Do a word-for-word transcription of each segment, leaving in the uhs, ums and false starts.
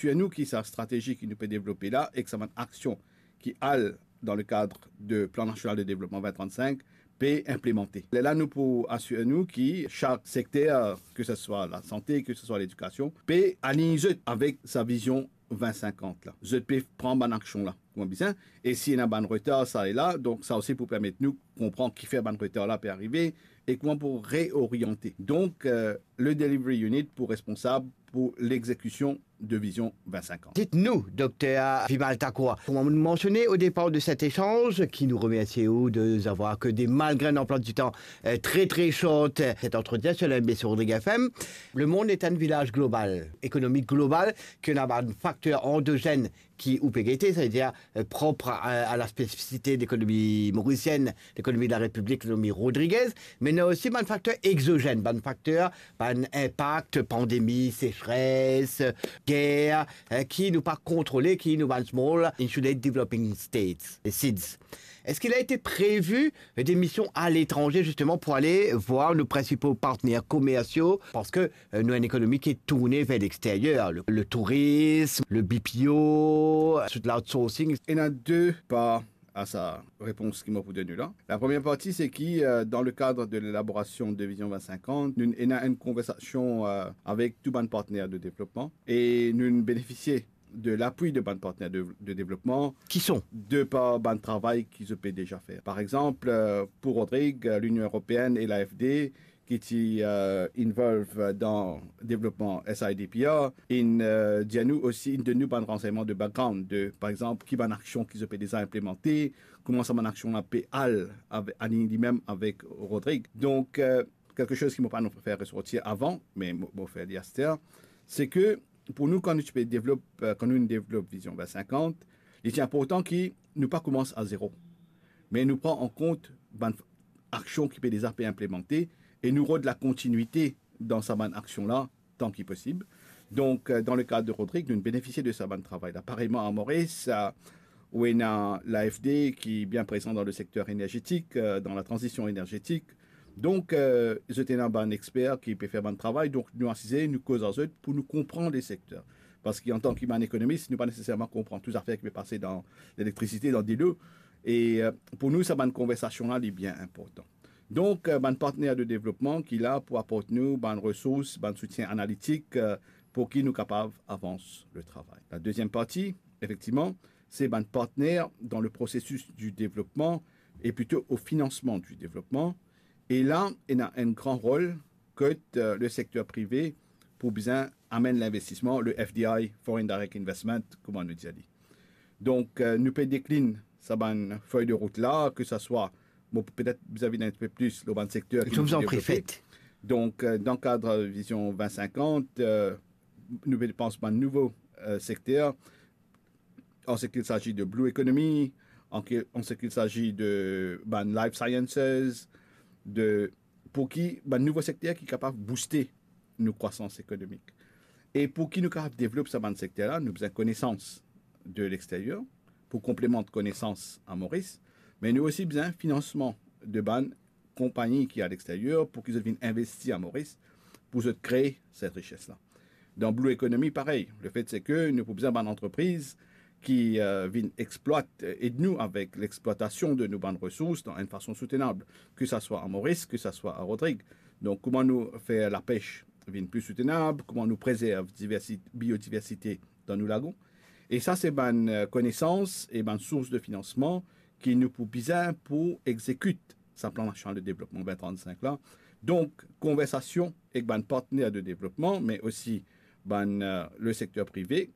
asir nou ki sa stratezi ki nou pe devlope la, ek sa bann aksion ki al dan le kad de Plan Nasional de Devlopman vin trant-sink, pe inplimante. Lerla nou pou asir nou ki sak sekter, ke se swa lasante, ke se swa ledikasion, pe align zot avek sa vizion vin sinkant la. Zot pe pran bann aksion la, kouma bizin. E si ena bann retar sa e la, donk sa osi pou permet nou konpran kifer bann retar la pe arive e kouma pou reoriante. Donk, eh, le delivery unit pou responsab pou lexekision de vizion vin sinkant. Dit nou, Dokter Vimal Thakur, kouma nou mansione o depar de set esanz, ki nou remersie ou de savoir ke de malgre enn anplwa di tan, eh, tre, tre short, eh, set antretien sur la M B C Rodrigues F M, lemond est un village global, ekonomi global, ki ena bann fakter andozenn ki ou pe gete, savedir, eh, prop a, a la spesifisite de lekonomi morisienn, lekonomi de la Repiblik, lekonomi Rodriguez, me ena osi bann fakter egzozenn, bann fakter, bann inpak, pandemi, sesres, ger, eh, ki nou pa kontrole, ki nou bann small insulated developing states, les SIDS. Est-ce qu'il a été prévu des missions à l'étranger, justement, pour aller voir nos principaux partenaires commerciaux ? Parce que, euh, nou ena enn ekonomi ki tourne ver lexteryer, le, le tourism, le B P O, tout l'outsourcing. Ena de par a sa repons ki mo pou donn ou la. La premie parti, se ki, euh, dan le kad de lelaborasion de vizion vin sinkant, nou ena enn konversasion, euh, avek tou bann partner de devlopman e nou benefisie de lapui de bann partner de, de devlopman. Ki son ? De par bann travay ki zot pe deza fer. Par exanp, eh, pou Rodrig, eh, Linion Eropeenn e l'A F D, ki ti, eh, involve dan devlopman S I D P R, inn, eh, dir nou osi, inn donn nou bann ransegnman de background, de, par exanp, ki bann aksion ki zot pe deza inplimante, kouma sa bann aksion la pe al ave-, align limem avek Rodrig. Donk, eh, kelke soz ki mo pa fer resorti avan, me mo, mo fer li aster, se ke pou nou, kan nou ti pe devlop, eh, kan nou devlop Vizion vin sinkant, li ti inportan ki nou pa koumans a zero, me nou pran an kont bann aksion ki pe deza pe inplimante e nou rod lakontinite dan sa bann aksion la tan ki posib. Donk, eh, dan le kad de Rodrig, nou benefisie de sa bann travay la. Pareyman a Moris, eh, ou ena l'A F D ki bien prezan dan le sekter energetik, eh, dan la tranzision energetik. Donk, eh, zot ena bann exper ki pe fer bann travay, donk nou asize, nou koz ar zot pou nou konpran le sekter. Parski antan ki bann ekonomis, nou pa neseserman konpran tou zafer ki pe pase dan lelektrisite, dan dilo. E, eh, pou nou, sa bann konversasion la, li bien inportan. Donk, eh, bann partner de devlopman ki la pou aport nou bann resours, bann soutien analitik, eh, pou ki nou kapav avans le travay. La deziem parti, efektivman, se bann partner dan le prosesis di devlopman e plito o finansman di devlopman. E la, ena enn gran rol kot, eh, le sekter prive pou bizin amenn linvestisman, le F D I, Foreign Direct Investment, kouma nou dir li. Donk, eh, nou pe deklin sa bann fey de rout la, ke sa swa, bon, petet bizin vinn enn tipe plis lor bann sekter ki nou devlope. Donk, eh, dan kad Vizion vin sinkant, eh, nou pe pans bann nouvo, eh, sekter, an ce qu'il s'agit de blue economy, an ke, an ce qu'il s'agit de bann life sciences, de, pou ki bann nouvo sekter ki kapav bouste nou krwasans ekonomik. E pou ki nou kapav devlop sa bann sekter la, nou bizin konesans de leksteryer pou konplemant konesans a Moris, me nou osi bizin finansman de bann konpagni ki a leksteryer pou ki zot vinn investi a Moris, pou zot kree set rises la. Dan blue economy, parey, lefet se ke nou pou bizin bann antrepriz ki, eh, vinn explwat, eh, ed nou avek lexplwatasion de nou bann resours dan enn fason soutenab, ke sa swa a Moris, ke sa swa a Rodrig. Donk, kouma nou fer lapes vinn pli soutenab, kouma nou prezerv diversi-, biodiversite dan nou lagon. E sa, se bann, eh, konesans e bann sours de finansman ki nou pou bizin pou exekit sa Plan Nasional de Devlopman vin trant-sink la. Donk, konversasion ek bann partner de devlopman, me osi bann, eh, le sekter prive,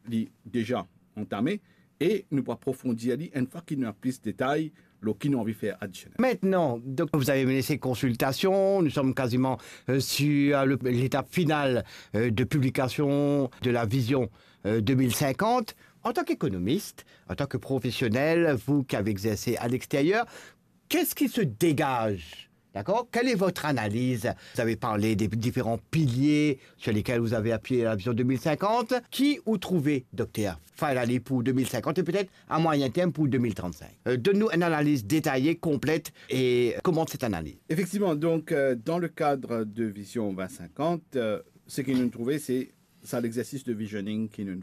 li deza antame e nou pou aprofondir li enn fwa ki nou ena plis detay lor ki nou anvi fer adisionel. Maintenant, donc, vous avez mené ces consultations, nous sommes quasiment, euh, sur le, l'étape finale, euh, de publication de la vision, euh, deux mille cinquante. En tant qu'économiste, en tant que professionnel, vous qui avez exercé à l'extérieur, qu'est-ce qui se dégage ? D'accord ? Quelle est votre analyse ? Vous avez parlé des différents piliers sur lesquels vous avez appuyé la vision deux mille cinquante. Ki ou trouve, Dokter, finally pou deux mille cinquante et peut-être à moyen terme pour deux mille trente-cinq ? Euh, donne-nous une analyse détaillée, complète, et commente cette analyse. Efektivman, donk, eh, dan le kad de Vizion vin sinkant, eh, seki nou trouve, se sa lexersis de visioning ki nou